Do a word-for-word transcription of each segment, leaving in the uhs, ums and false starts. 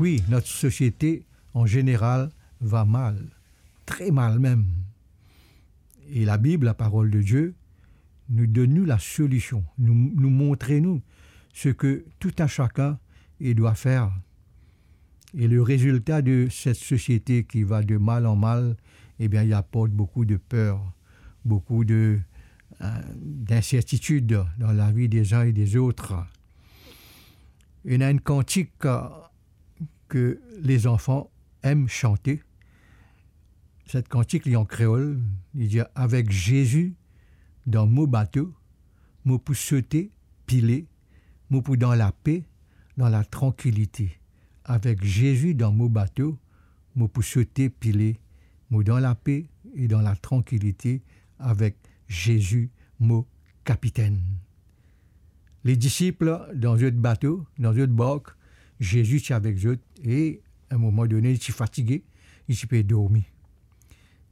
Wi, not sosiete an zeneral va mal, tre mal mem. E Labib, laparol de Die, nou donn nou lasolision, nou, nou montre nou seki tou a sakenn i dwa fer. E le rezilta de set sosiete ki va de mal an mal, ebien, i aport boukou de per, boukou de, eh, d'insertitid dan lavi dezin e dezot. Ena enn kantik, eh, ke lezanfan em sante. Set kantik li an kreol, li dir, "Avek Zezi dan mo bato, mo pou sote, pile, mo pou dan lape, dan latrankilite. Avek Zezi dan mo bato, mo pou sote, pile, mo dan lape e dan latrankilite, avek Zezi mo kapitenn." Ledisip dan zot bato, dan zot bark, Zezi ti avek zot, e a enn moman done, li ti fatige, li ti pe dormi.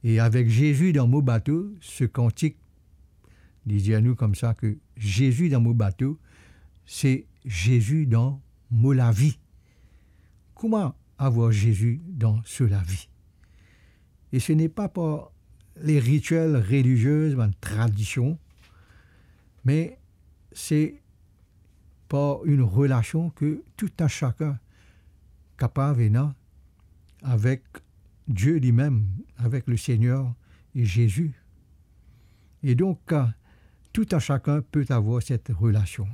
E "Avek Zezi dan mo bato", se kantik, li dir nou koumsa ke "Zezi dan mo bato, se Zezi dan mo lavi." Kouma avoir Zezi dan so lavi? E se n'est pas par les rituels religieux, bann tradision, me se par enn relasion ke tou a sakenn kapav ena avek Die limem, avek Lesegner e Zezi. E donk, tou a sakenn pe avoir set relasion.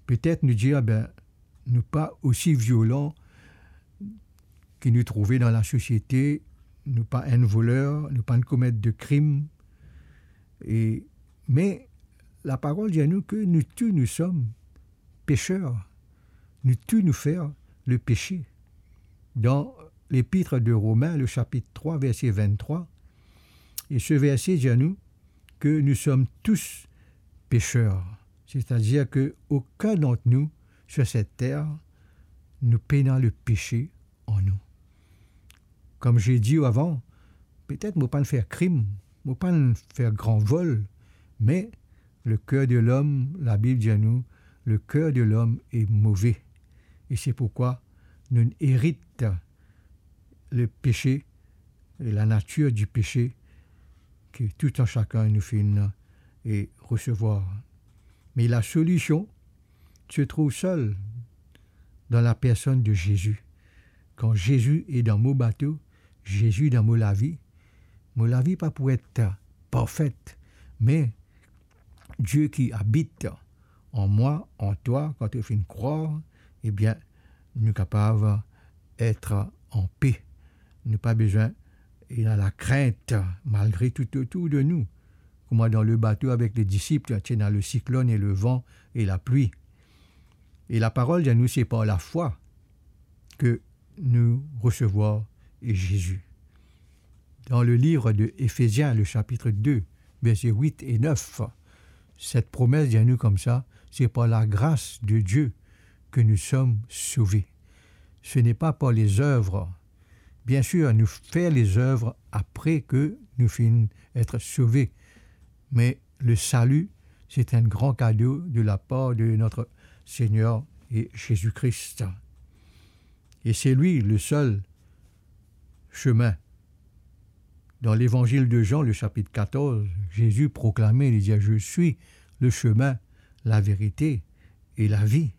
Petet nou dir, "Be, nou pa osi violan ki nou trouve dan lasosiete, nou pa enn voler, nou pa komet de krim." E, me laparol dir nou ke nou tou nou som peser, nou tou nou fer lepese. Dan Lepit de Romin, le sapit trwa, verse venntrwa, e se verse dir nou ke nou som tous peser, setadir ke okenn dan nou sur set ter nou pena lepese an nou. Kouma mo dir avan, petet mo pa'nn fer krim, mo pa'nn fer gran vol, me leker de lom, Labib dir nou, leker de lom est mauvais. E se pourkwa nou erit lepese e lanatir dipese ke tou a sakenn nou finn e resevwar. Me lasolision se trouv sel dan lapersonn de Zezi. Kan Zezi est dan mo bato, Zezi dan mo lavi, mo lavi pa pou et parfe, me Die ki abit an mwa, an twa, kan to finn krwar, ebien, nou kapav et an pe. Nou pa bizin ena lakrint malgre tou otour de nou. Kouma dan lebato avek ledisip, ti ena lesiklonn e levan e lapli. E laparol dir nou se par lafwa ke nou resevwar Zezi. Dan leliv de Efezien, le sapit de, verse wit e nef, set promes dir nou koumsa, se par lagras de Die ke nou som sove. Ce n'est pas par les œuvres. Biensir, nou fer lezev apre ke nou finn et sove, me lesali, se enn gran kado de lapar de notre Seigneur e Zezi Kri. E se li lesel semin. Dan Levanzil de Zan, le sapit katorz, Zezi proklame, li dir, "Je suis le chemin, la vérité et la vie."